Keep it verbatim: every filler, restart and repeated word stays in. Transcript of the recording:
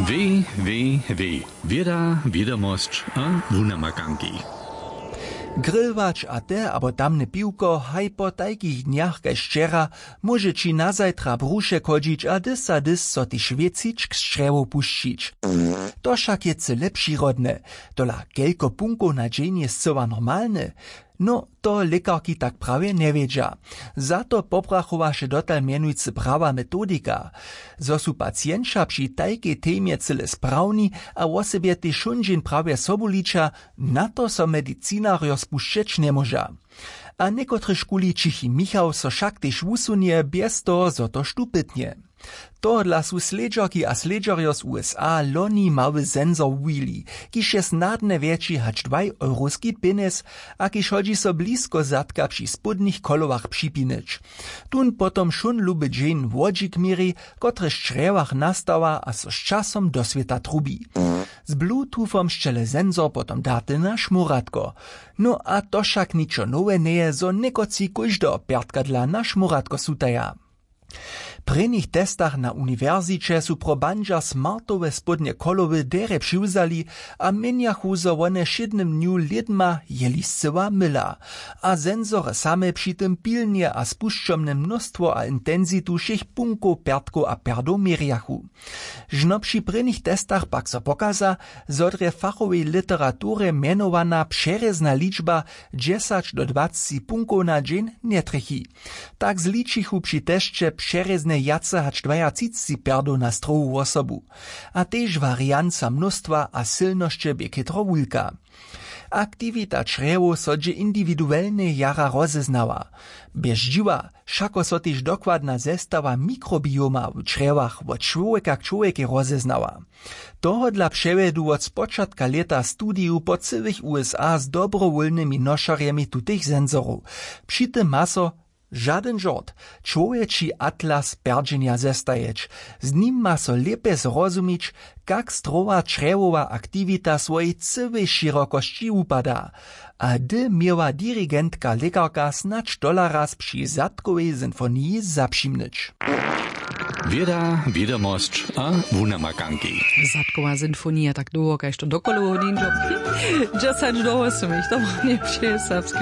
W W W wěda wědomosć a wunamakanki. Grillwać a te abo tamne piwko haj po tajkich dnjach kaž wčera, móže ći nazajtra brušek hodźić a dys a dys so tež wěcičk z črjewow pušćić. To wšak je cyle přirodne. Tola kelko punkow na dźeń je scyła normalne? No, to lěkarki tak prawje njewědźa. Za to pobrachowaše dotal mjenujcy prawa metodika. Zo su pacienća při tajkej temje cyle sprawni a wosebje tež šóndźeń prawje sobu liča, na to so medicinarjo spušćeć njemóža. A někotryž kuli ćichi michał so wšak tež wusunje bjez toho zo to štupytnje. Tohodla su slědźerki a slědźerjo z U S A loni mały sensor wuwili, kiž je snadnje wjetši hač dwaj euroski pjenjez, a kiž hodźi so blisko zadka při spódnich kolowach připinić. Tón potom wšón luby dźeń wodźik měri, kotryž w črjewach nastawa a so z časom do swěta trubi. Z bluetoothom sćele sensor potom daty na šmóratko. No a to wšak ničo nowe njeje, zo někotři kóždeho pjertka dla na šmóratko sutaja. W prěnich testach na uniwersiće su pro bandźa smartowe spódnje kolowy derje přiwzali a měnjachu zo wone w wšědnym dnju lědma jeli scyła myla. A sensory same při tym pilnje a spušćomne mnóstwo a intensitu wšěch punkow pjertkow a pjerdow měrjachu. Žno při prěnich testach pak so pokaza, zo drje w fachowej literaturje mjenowana přerězna ličba dźesać do dwaceći punkow na dźeń njetrjechi. Tak zličichu při tesće přerěznje wjace hač dwajatřicci pjerdow na strowu wosobu. A tež warianca mnóstwa a sylnosće bě chětro wulka. Aktiwita črjewow so dźě indiwiduelnje jara rozeznała. Bjez dźiwa wšako so tež dokładna zestawa mikrobioma w črjewach wot čłowjeka k čłowjekej rozeznała. Tohodla přewjedu wot spočatka lěta studiju po cyłych U S A z dobrowólnymi nošerjemi tutych sensorow. Při tym ma so žadyn žort, čłowječi atlas pjerdźenja zestajeć. Z nim ma so lěpje zrozumić, kak strowa črjewowa aktiwita w swojej cyłej šěrokosći wupada. A hdy měła dirigentka lěkarka snadź tola raz při zadkowej sinfoniji zapřimnyć. Wěda wědomosć a wunamakanki. Zadkowa sinfonija tak dołho kaž to dokolowo dźenjo. Dźesać do wosomich to wone při serbskej